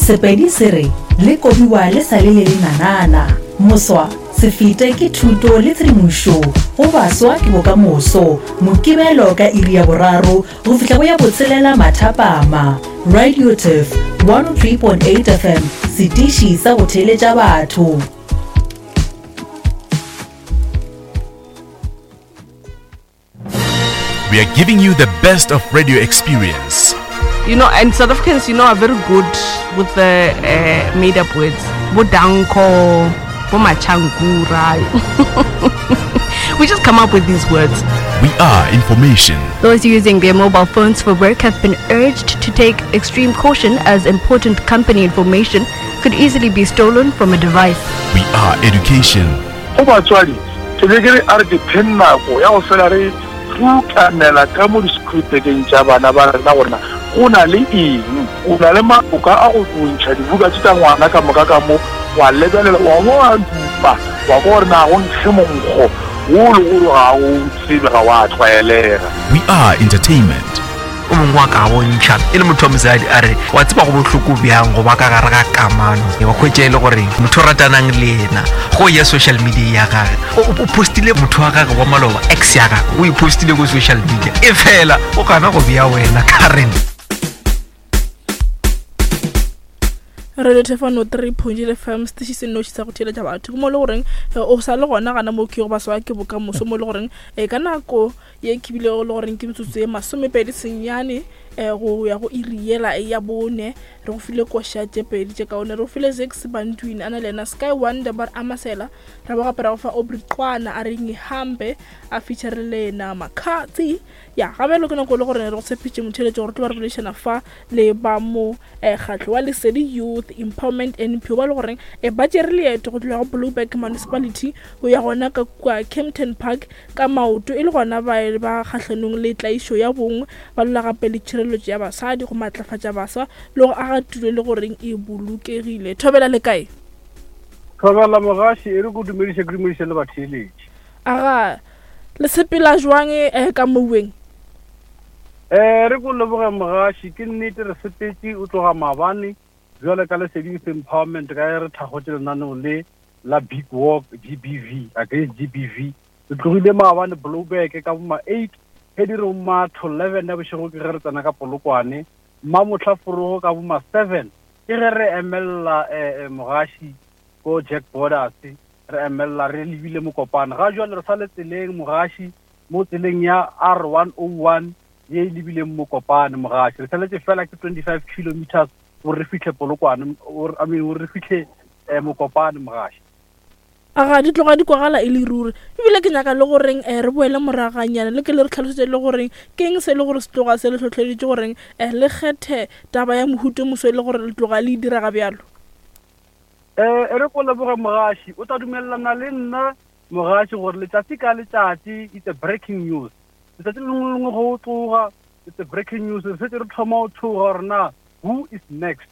Sepedi se re, Le kobiwa le sa le le lenanana. Moswa, se fete ke thuto le tshedimošo go baswa ke bokamoso. Mokibelo ka iri ya boraro go fihla go ya botshelela mathapama. Radio Turf 103.8 FM, setiši sa go theeletša batho. We are giving you the best of radio experience. You know, and South Africans, you know, are very good with the uh, made up words. Bodanko, Bomachankura. we just come up with these words. We are information. Those using their mobile phones for work have been urged to take extreme caution as important company information could easily be stolen from a device. We are education. Go batswadi, ke be ke re a re dipheng nako ya go fela re rutanela ka mo di-school-bageng tša bana ba rena gore na go na le eng. O na le maoka a go ntšha dibuka tše tša ngwana ka moka ka mo, wa lebelela, wa bo wa dupa, wa kwa gore na go nkge monkgo wo le gore ga o tsebe, ga wa tlwaelega. We are entertainment. O mongwe wa ka bontšha e le motho wa mosadi a re wa tseba go bohloko bjang go ba ka gare ga kamano wa hwetša e le gore motho o ratanang le yena go ya social media ya gage o postile motho wa gage wa maloba ex ya gage o e postile ko social media e fela o gana go bea wena current radio thefano 3 point fm setiši se nnoši sa go theeletša batho ke mo le goreng eh, o sa le gona gana mo ke go ba swa ke bokamoso mo le goreng um ka nako ye ke bilego le goreng ke metsotso ye masomepedi senyane um go ya go iri yela ya bone re go file koša tše pedi tše kaone re go file zex bantwini a na le yena sky wonder ba re amasela ra bo gape ra go fa obry qwana a re ngihambe a feature le yena makgatsi ya gabelo ke nako e le gore re go tshepitše motheletšo gore tlo ba re boledišana fa le ba mo mokgatlo wa Lesedi Youth Empowerment NPO ba le goreng e ba tšere leeto go tloga go Blouberg Municipality go ya gona ka kua Kempton Park ka maoto e le gona ba ba kgahlanong le tlaišo ya bong ba lwela gape le tšhireletšo ya basadi go matlafatša baswa le go aga tulo e le goreng e bolokegile. Thobela le kae? Thobela mogaši e re ko dumediše ke dumediše le batheeletši. Aga le sepela jwang eh, ka mouweng? Eh, re ko leboge mogaši, ke nnete re sepetše o tloga maabane bjale ka Lesedi Youth Empowerment ka ge re thakgotše lenaneo le la Big Walk GBV against GBV. Re tlogile maabane Blouberg ka boma 8 ge di re ma to 11 ya bošego ke ge re tsena ka Polokwane, mmamohla forogo ka boma 7 ke ge re emelela eh, eh, mogaši ko Jack Borders re emelela re lebile Mokopane. Ga jwale re sa le tseleng mogaši mo tseleng ya R101 ye e lebileng Mokopane mogaši. Re saletše fela ke 25 kilometers gore re fihle Polokwane, I mean gore re fihle eh, Mokopane mogaši. A ga di tloga di kwagala e le ruri. Ebile ke nyaka le goreng um re boele moraganyana le ke le re tlhalosetše le goreng ke eng se e le gore se tloga se le hlohleleditše goreng um le kgethe taba ya mohuta o moso e le gore le tloga le e dira ga bjalo. Um e re ko leboge mogaši, o tla dumelelana le nna Mogaši gore letšatši ka letšatši it's a breaking news. Letšatši le lengwe le lengwe go o tloga it's a breaking news. Re šetše re thoma go tšhoga gore na who is next.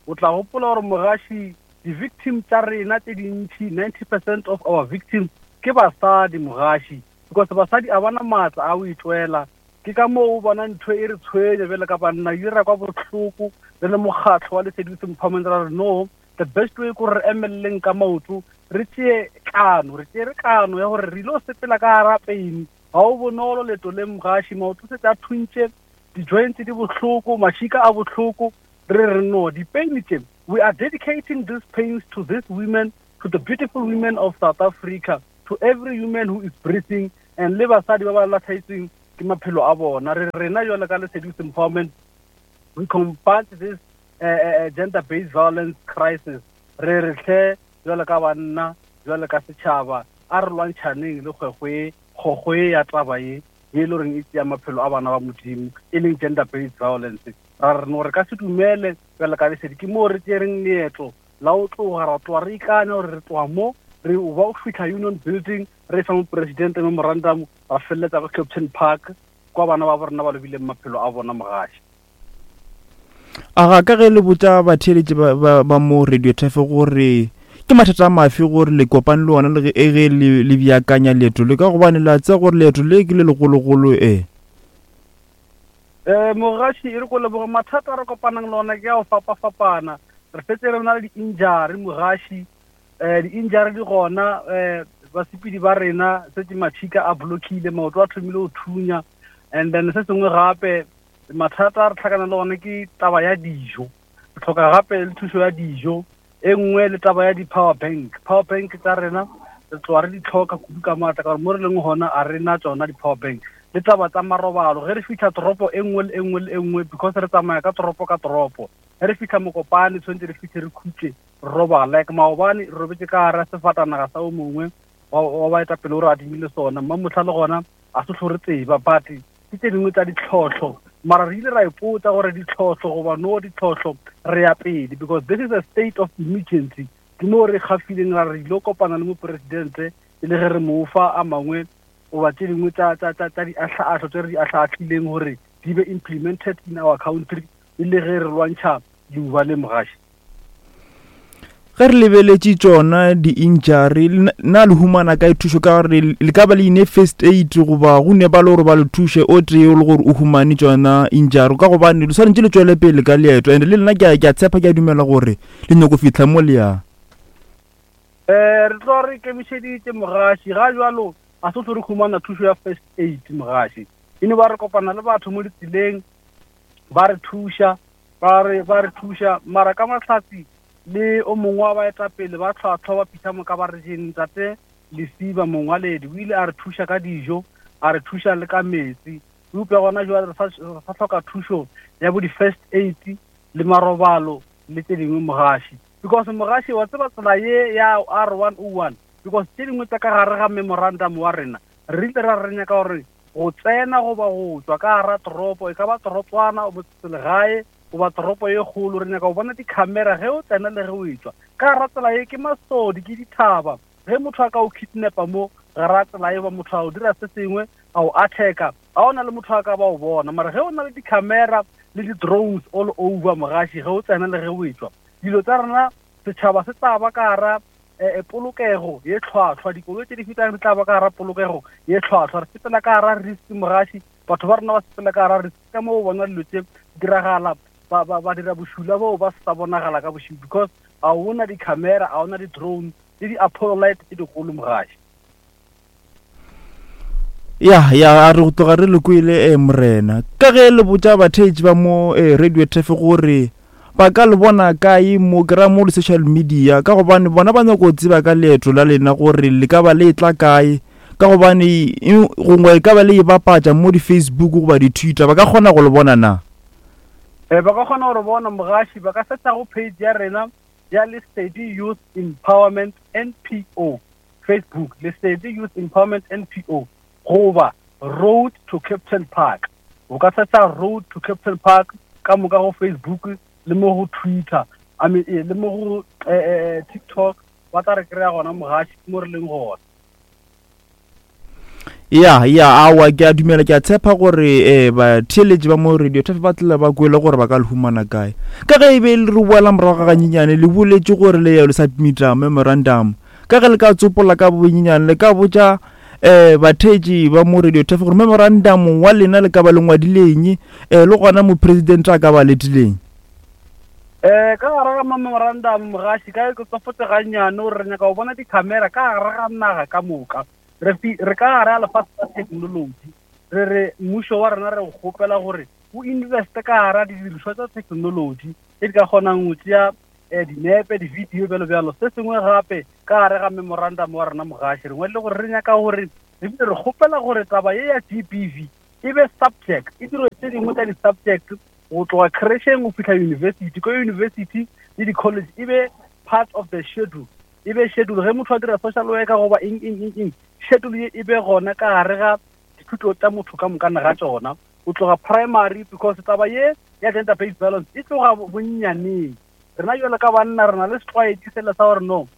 O tla gopola gore mogaši di-victim tša rena tše dintši 90 percent of our victims ke basadi mogaši because basadi a bana maatla a go itwela. Ke ka moo o bona ntho e re tshwenya bjale ka banna, e ra kwa bohloko re le mokgatlo wa Lesedi Youth Empowerment ra re no the best way ko re emeleleng ka maoto re tšee kano re tšere kano ya gore re ile go sepela ka gara peini ga o bonolo leto le mogaši maoto setse a thuntše di-joints di bohloko mašika a bohloko re re no dipeini tše we are dedicating these pains to these women to the beautiful women of south africa to every woman who is breathing and le basadi ba ba latlhaetsweng ke maphelo a bona re rena jale ka lesedi empowerment we combat this eh, eh, eh, gender based violence crisis re re hle jwale ka banna jwale ka setšhaba a re lwantšhaneng le kgwekgwe kgokgwe ya taba ye ye e le goreng e tšea maphelo a bana ba modimo e leng gender based violence ra re no re ka se dumele bjale ka lesedi ke moo re tšereng leeto la o tloga ra tloga re ikanya gore re tloga mo re o ba o fitlha union building re fa moporesidente memorandum ra feleletsa ka captain park kwa bana ba borena ba lobileng maphelo a bona mogaši A ga ka ge le botša batheeletši ba, ba, ba mo Radio Turf gore ke mathata a mafe gore le kopane le ona le ge e ge le, le beakanya leeto le ka gobane la tseba gore leeto le ke le legologolo e. Um mogaši e re ko leboge mathata a re kopanang le ona ke a go fapafapana. Re fetse re na le di-injury mogaši, um di-injury di gona, um basepedi ba rena setse matšhika a blockile, maoto a thomile go thunya. And then se sengwe gape mathata a re tlhakana le gone ke taba ya dijo. Re tlhoka gape le thušo ya dijo, e nngwe le taba ya di-power bank. Power bank tsa rena re tloga re di tlhoka kudu ka maatla ka gore mo re leng gona a re na tsona di-power bank. Le taba tsa marobalo, ge re fitlha toropo e nngwe le e nngwe le e nngwe, because re tsamaya ka toropo ka toropo, ge re fitlha Mokopane tshwanetse re fitlhe re khutse re robala. Like maobane re robetse ka gara sefatanaga sa o mongwe wa baetapele o re adimile sona, mmamotlha le gona a se tlho re tseba, but ke tse dingwe tsa ditlhotlho. Mara re ile ra ipotsa gore ditlhotlho goba no ditlhotlho, re ya pele because this is a state of emergency. Ke mo re gafileng ra re ile kopana le moporesidente e le ge re mo fa a mangwe goba tse dingwe tsa diahlaahlo tse re di ahlaahlileng gore di be implemented in our country e le ge re lwantšha leuba le mogaši. Ge re lebeletše tšona di-injury, na le humana kae thušo? Ka gore le ka ba le ine first aid goba go ne ba le gore ba le thuše o tee o le gore o humane tšona injury, ka gobane le swanetše le tšwele pele ka leeto. And le nna ke a tshepa, ke a dumela gore le nyako fihla mo le yang. Re tlo re ikemišeditše mogaši, ga jalo a se tlo re humana thušo ya first aid mogaši. E no ba re kopana le batho mo ditseleng ba re thuša, ba re ba re thuša, mara ka mahlatsi le o mongwe wa baetapele ba tlhwatlhwa ba Peter Mokabarejeng, Ntate Lesiba Mongwaledi, o ile a re thuša ka dijo, a re thuša le ka metsi. Eupša gona jwale re sa hloka thušo ya bo di-first aid le marobalo le tše dingwe mogaši. Because mogaši wa tseba tsela ye ya R101, because tše dingwe tša ka gare ga memorandum wa rena, re ile ra re nyaka gore go tsena goba go tšwa ka gara toropo, e ka ba torotswana, motseselegae goba toropo ye kgolo, re nyaka go bona di-camera ge o tsena le ge o etšwa. Ka gara tsela ye ke masodi, ke dithaba. Ge motho a ka o kidnapa mo gara tsela ye, goba motho a o dira se sengwe, a o attacka, ga o na le motho a ka ba o bona. Mara ge o na le di-camera le di-drones all over mogaši, ge o tsena le ge o etšwa, dilo tsa rena setšhaba se tla ba ka gara polokego ye tlhwatlhwa. Dikoloi tse di fetang di tla ba ka gara polokego ye tlhwatlhwa. Re sepela ka gara risk mogaši, batho ba rena ba sepela ka gara risk. Ka moo bona dilo tse diragala, ba dira bošula boo ba sa bonagala ka bošego, because ga o na di-camera, ga o na di-drone le di-apollo light tse digolo mogaši. Ya, ya, a re go tloga re le kwele, morena. Ka ge le botša batheetši ba mo Radio Turf gore ba ka le bona kae mo, ke ra mo di-social media, ka gobane bona ba nyako tseba ka leeto la lena gore le ka ba le etla kae, ka gobane gongwe e ka ba le e bapatša mo di-Facebook goba di-Twitter, ba ka kgona go le bona na? Ba ka kgona go re bona mogaši, ba ka searcha go page ya rena ya Lesedi Youth Empowerment NPO, Facebook, Lesedi Youth Empowerment NPO, goba Road to Kempton Park. O ka searcha Road to Kempton Park ka moka go Facebook le mo go Twitter, I mean, le mo go TikTok, ba tla re kry-a gona mogaši, ke mo re leng gona. Ya, ya, awa, ke a dumela, ke a tshepa gore batheeletši ba mo Radio Turf ba tla ba kwele gore ba ka le humana kae. Ka ge e be le re boela morago ga ganyenyane, le boletše gore le ya le submita memorandum. Ka ge le ka tsopola ka bonyenyane, le ka botša batheetši ba mo Radio Turf gore memorandum wa lena le ka ba le ngwadileng, le gona mopresidente a ka ba letileng. Ka gare ga memorandum mogaši, ka ke tsofotse gannyane gore re nyaka go bona di-camera ka gare ga naga ka moka. Re ka gare ga lefase la technology, re re mmušo wa rena re o kgopela gore o investe ka gare ga didirišwa tsa technology tse di ka kgonang go tšea dinepe, di-video, bjalo bjalo. Se sengwe gape ka gare ga memorandum wa rena mogaši, re ngwadile gore re nyaka gore, ebile re kgopela gore taba ye ya GBV e be subject, e dirwe tse dingwe tsa di-subject go tloga crècheng go fihla university. Ko university le di-college e be part of the schedule, e be schedule. Ge motho a dira social worker goba eng, eng, eng, eng, schedule ye e be gona ka gare ga dithuto tša motho ka moka ga tšona, go tloga primary, because taba ye ya gender based violence e tloga bonnyaneng. Rena jalo ka banna re na le setlwaedi sela sa gore no,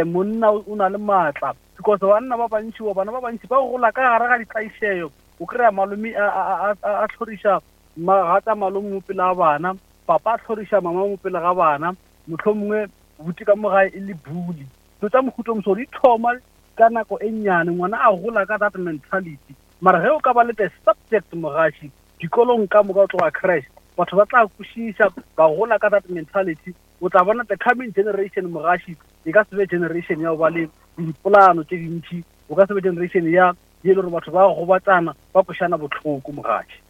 monna o na le maatla, because banna ba bantši goba bana ba bantši ba gola ka gare ga ditlaišego. O kry-a malome a tlhoriša magatša malome mo pele ga bana, papa a tlhoriša mama mo pele ga bana, mohlomongwe buti ka mo gae e le bully. Dilo tša mohuta o moso di thoma ka nako e nnyane, ngwana a gola ka that mentality. Mara ge o ka ba le the subject mogaši dikolong ka moka go tloga creche, Batho ba tla kwešiša, ba gola ka that mentality. O tla bona the coming generation, mogaši, e ka se be generation ya go ba le dipolano tše dintši, o ka se be generation ya ye e le gore batho ba gobatsana, ba kwešana bohloko, mogaši.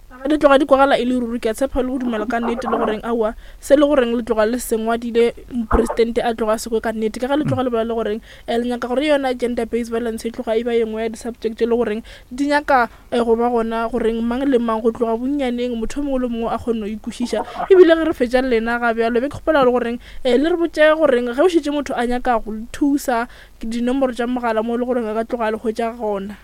Ga di tloga di kwagala e le ruri, ke a tshepa le go dumela ka nnete le goreng aowa se le goreng le tloga le sengwadile mopresidente a tloga a se kwe ka nnete, ka ge le tloga le bolela le goreng um le nyaka gore yona gender based violence e tloga e ba ye nngwe ya di-subject tše le goreng di nyaka um go ba gona goreng mang le mang go tloga bonnyaneng motho o mongwe le mongwe a kgone go ikwešiša. Ebile ge re fetša le lena ga bjalo be ke kgopela le goreng um le re botše goreng ge o šetše motho a nyaka go le thusa dinomoro tša mogala mo e le goreng a ka tloga a le hwetša gona.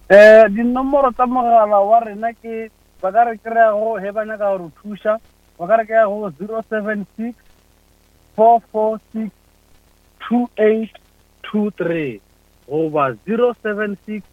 Um dinomoro tsa mogala wa rena ke, ba ka re kry-a go, he ba nyaka go re thuša, ba ka re kry-a go 076 446 2823 goba 076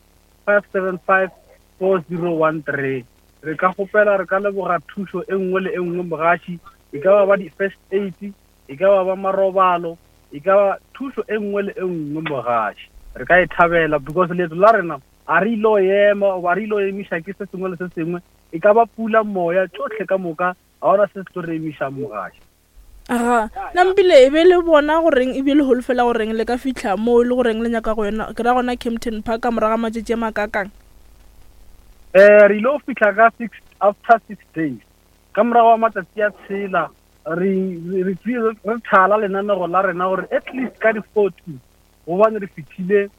575 4013. Re ka kgopela, re ka leboga thušo e nngwe le e nngwe mogaši, e ka ba ba di-first aid, e ka ba ba marobalo, e ka ba thušo e nngwe le e nngwe mogaši, re ka e thabela because leeto la rena a re ilo ema goba re ilo emiša ke se sengwe le se sengwe, e ka ba pula, moya, tšohle ka moka, ga gona se se tlo re emišang mogaši. Aga, nampile e be le bona goreng ebile le holofela goreng le ka fihla moo e le goreng le nyaka go yona, ke ra gona Kempton Park ka morago ga matšatši a makakang? Um re ile go fihla ka six, after six days, ka morago ga matsatsi a tshela re re re thala lenanego la rena gore at least ka di-14 gobane re fihlile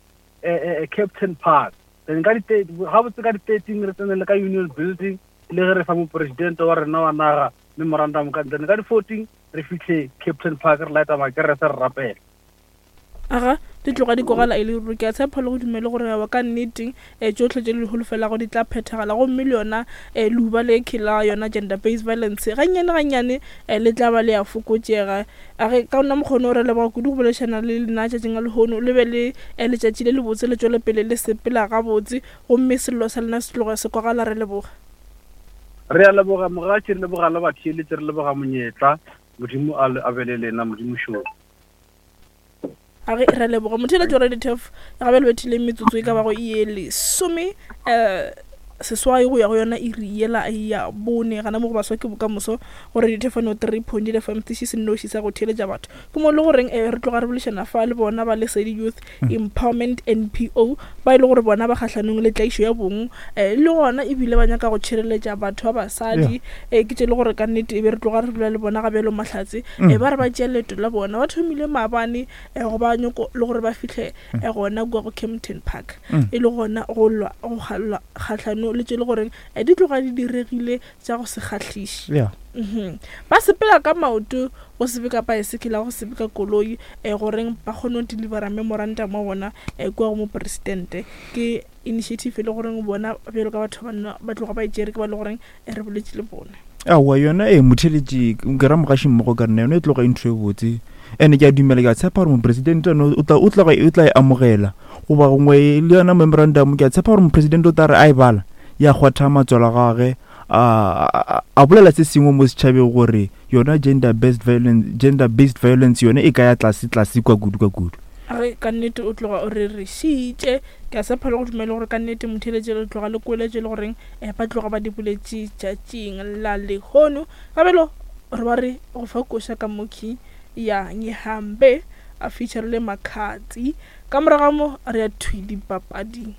eh, eh, eh, Captain Park then ka di gabotse ka di-13 re tsene le ka Union Building le ge re fa moporesidente wa rena wa naga memorandum ka then ka di-14 re fihle Captain Park re lighta makerese re rapela. Aga, di tloga di kwagala e le ruri. Ke a tshepa le go dumele gore aowa ka nnete um tšohle tše le di holofelago di tla phethagala gomme le yona um leuba le ke la yona gender based violence gannyane gannyane um le tla ba le a fokotšega. A ge ka ona mokgwa re leboga kudu go boledišana le lena tšatšing la lehono. Le be le um letšatši le lebotse le tšwele pele le sepela gabotse gomme sello sa lena se tloge se kwagala. Re leboga. Re a leboga mogatši, re leboga le batheeletši, re leboga monyetla. Modimo a a be le lena, Modimo šo. A ge re leboga motheeletši wa Radio Turf gabe le bethile metsotso e ka bago ye lesome um seswai go ya go yona iri yela ya bone gana mo go baswa ke bokamoso go Radio Turf no 3.8 FM setiši se nnoši sa go theeletša batho ke mo le goreng eh, re tloga re bolešana fa le bona ba Lesedi Youth Empowerment NPO ba e le gore bona ba kgahlanong le tlaišo ya bong eh, le gona ebile ba nyaka go tšhireletša batho ba basadi eh, ke tše le gore ka nnete e be re tloga re bolela le bona ga bjalo mahlatse eh, ba re ba tšea leeto la bona ba thomile maabane eh, go ba nyoko le gore ba fihle eh, gona kua go Kempton Park e le gona go lwa go lwa kgahlano le tše le goreng eh, di tloga di diregile tša go se kgahliše Yeah. Mhm. Ba sepela ka maoto go se be ka paesekela go se be ka koloi eh, goreng ba kgone go delivera memorandum wa bona eh, kua go mopresidente. Ke initiative e le goreng bona bjalo ka batho ba banna ba tloga ba e tšere ke ba le goreng eh, re boletše le bona. Aowa yona ee motheeletši ke ra mogaši mmogo ka rena yona e tloga e ntho e botse ene ke a dumela ke a tshepa gore mopresidente ene o tla o tla o tla e amogela goba gongwe le yona memorandum ke a tshepa gore mopresidente o tla re a e bala ya kgwatha matswalo a gage a a bolela se sengwe mo setšhabeng gore yona gender based violence gender based violence yone e ka ya tlase tlase kwa kudu kwa kudu. Re ka nnete o tloga o re re šitše. Ke a tshepa le go dumela gore ka nnete motheeletši le tloga le kwele tše le goreng eh, ba tloga ba di boletše tšatšing la lehono. Gabelo re ba re go fa koša ka mokhi ya Ngihambe a featurile Makhadzi. Ka morago ga mo re ya thwi dipapading.